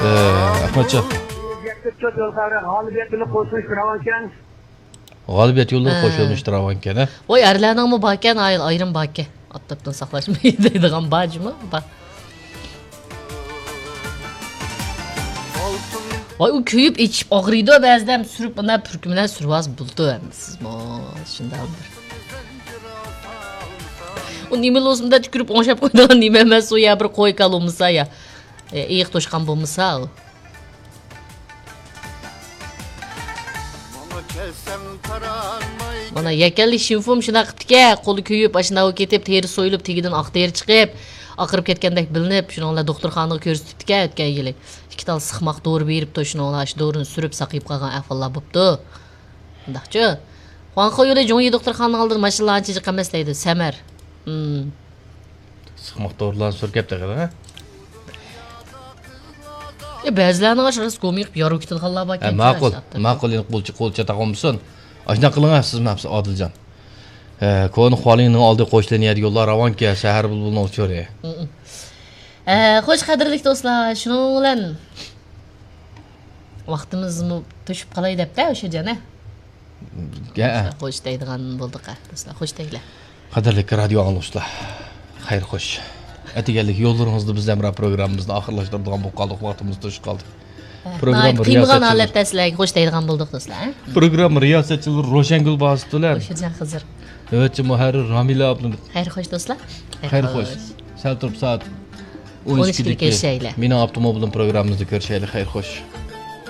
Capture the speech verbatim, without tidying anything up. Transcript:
ئەخمەتجان. غالىبىيەت يولى قوشۇلۇشى راۋانكەن. غالىبىيەت يولى ھە. قوشۇلۇشى راۋانكەن، ھە؟ ۋاي، ئەرلەرنىڭمۇ باركەن، ئايرىم باركەن. ئاپتاپتىن ساقلاشماي دەيدىغان بار جۇمۇ، بار. ۋاي، ئۇ كۆيۈپ ئېچىپ ئاغرىيدۇ، بەزىدە ھەم سۈرۈپ، مانا پۈركۈملەر سۈرۈۋالسا بولىدۇ، ھەممىسىزمۇ شۇنداق بىر. ئۇ نېمە لوزۇمدا تۈكۈرۈپ ئوڭشاپ قويىدىغان نېمە ئەمەس ئۇ، يا بىر قوي كالا بولمىسا، يا ئېيىق توشقان بولمىسا ئۇ. مانا يەكەنلىك شىنفۇم شۇنداق قىپتىكەن، قولى كۆيۈپ، ئاشۇنداق كېتىپ، تېرە سويۇلۇپ، تېگىدىن ئاق تېرە چىقىپ، ئاقىرىپ كەتكەندەك بىلىنىپ، شۇنىڭ بىلەن دوختۇرخانىغا كۆرسىتىپتىكەن ئۆتكەن يىلى. ئىككى تال سىقماق دورا بېرىپتۇ، شۇنىڭ بىلەن ئاشۇ دورىنى سۈرۈپ ساقىيىپ قالغان ئەھۋاللار بوپتۇ. شۇنداقچۇ؟ خۇاڭخې يولى جۇڭيى دوختۇرخانىنىڭ ئالدىدا ماشىنىلار ئانچە جىق ئەمەس دەيدۇ، سەمەر. مم. سىقماق دورىلارنى سۈركەپ تېخى، ھە؟ ئە، بەزىلەرنىڭ ئاشۇ راست گومى قىلىپ يارۇ كېتىدىغانلار بار ھە، ئەكەن، ماقۇل، ماقۇل، ئېنىق قولچە، قولچە تاقالمىسۇن. ئاشۇنداق قىلىڭ، سىز ماپسىز ئادىلجان. ھە، كونا خۇالىڭنىڭ ئالدى قوشلىنىيەدىكى يوللار راۋانكەن، سەھەر بۇلبۇلنىڭ ئۇچۇرى. ھە، خوش، قەدىرلىك دوستلار، شۇنىڭ بىلەن ۋاقتىمىزمۇ توشۇپ قالاي دەپتە، ئوشۇجان، ھە؟ ھە. خوش دەيدىغان بولدۇق، ھە، دوستلار، خوش دەيلى. قەدىرلىك رادىيو ئاڭلىغۇچىلار، خەير خوش. ئەتىگەنلىك يوللىرىڭىزدا بىز ھەمراھ پروگراممىمىزنى ئاخىرلاشتۇرىدىغان بولۇپ قالدۇق، ۋاقتىمىز توشۇپ قالدى. ھە، پروگرامما ناھايىتى قىينىغان رىياسەتچىلىرى ھالەتتە سىلەرگە خوش دەيدىغان بولدۇق، دوستلار، ھە؟ پروگرامما رىياسەتچىلىرى روشەنگۈل باسىتۇلەن. خوش، جان خىزىر. نۆۋەتچى مۇھەررىر رامىلە ئابلىمىت. خەير خوش، دوستلار. خەير خوش. سەل تۇرۇپ سائەت ئون ئىككىدىكى مېنىڭ ئاپتوموبىلىم پروگراممىمىزدا كۆرۈشەيلى. خەير خوش.